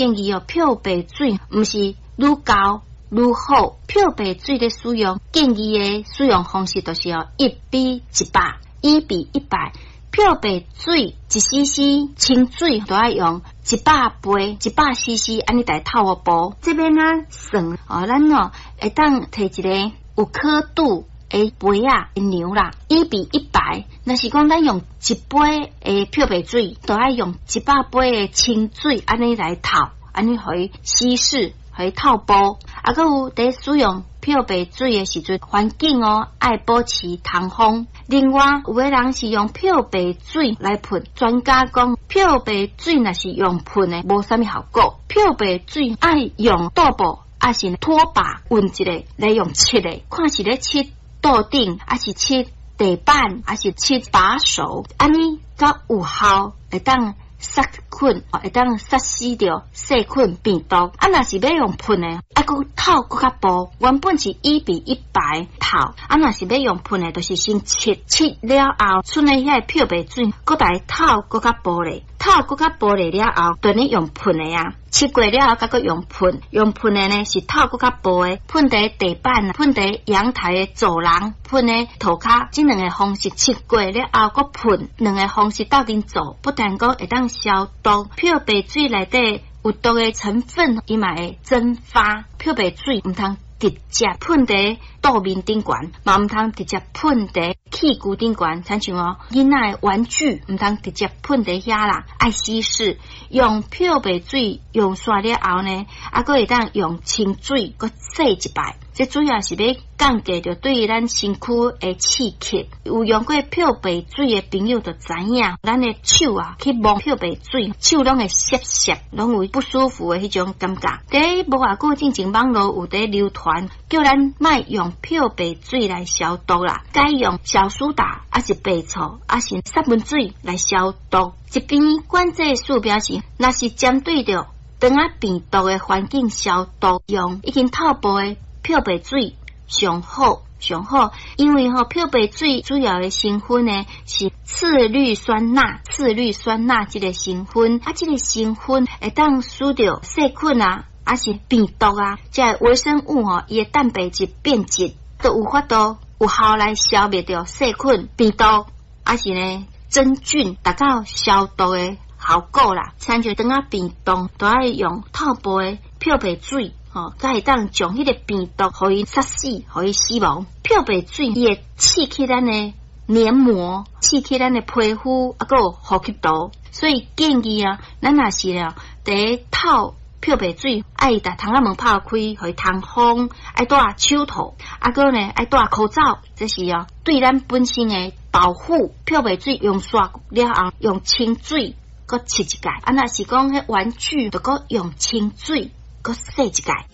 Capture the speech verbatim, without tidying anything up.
建議哦，漂白水毋是愈厚愈好。漂白水的使用建議的使用方式就是哦，一比一百，一比一百。漂白水一 C C 清水都愛用一百倍，一百 C C 按呢來透予薄。這欲按怎算哦，咱哦會當提一个有刻度的杯仔量啦，一比一百。若是講咱用一杯的漂白水，都愛用一百杯的清水按呢來透，按呢予伊稀釋，予伊透薄。啊，閣有佇使用漂白水的時陣，環境哦愛保持通風。另外，有的人是用漂白水來噴，專家講漂白水若是用噴的，無啥物效果。漂白水愛用桌布，抑是拖把勻一下來用拭的，看是咧拭桌頂，抑是拭地板，抑是拭把手，按呢較有效，會當殺菌，會當殺死著細菌病毒。啊，若是欲用噴的，愛閣透閣較薄。原本是一比一百透，啊，若是欲用噴的，就是先拭拭了後，賰的遐个漂白水，閣來透閣較薄咧，透閣較薄咧了後，就呢用噴的啊。拭過了後，閣閣用噴，用噴的呢是透閣較薄的，噴佇地板、噴佇陽台的走廊、噴佇塗跤，這兩个方式拭過了後，閣噴，兩个方式鬥陣做，不但講會當消毒，漂白水內底有毒的成分，伊嘛會蒸發。漂白水毋通直接噴佇桌面頂懸，嘛毋通直接噴佇器具頂懸，親像哦囡仔的玩具，毋通直接噴佇遐啦，愛稀釋。用漂白水用煞了後呢，啊，閣會當用清水閣洗一擺。這主要是欲降低著對咱身軀的刺激。有用過漂白水的朋友就知影，咱的手啊去摸漂白水，手攏會澀澀，攏有不舒服的彼種感覺。佇無偌久進前，網路有佇流傳，叫咱莫用漂白水來消毒啦，改用小蘇打，抑是白醋，抑是殺蚊水來消毒。這邊管制署表示，若是針對著腸仔病毒的環境消毒，用已經透薄的漂白水上好上好，因為吼漂白水主要的成分呢是次氯酸鈉，次氯酸鈉這个成分，啊，這个成分會當使著細菌啊，抑是病毒啊，這个微生物吼，伊的蛋白質變質，都有法度有效來消滅著細菌、病毒，抑是呢真菌，達到消毒的效果啦。親像腸仔病毒，都愛用透薄的漂白水。吼，才會當將彼个病毒予伊殺死，予伊死亡。漂白水伊會刺激咱的黏膜，刺激咱的皮膚，啊，閣有呼吸道。所以建議啊，咱若是了，佇透漂白水，愛共窗仔門拍開，予伊通風，愛戴手套，啊，閣呢愛戴口罩，這是哦對咱本身的保護。漂白水用煞了後，用清水閣拭一擺。啊，若是講彼玩具，就閣用清水閣洗一擺。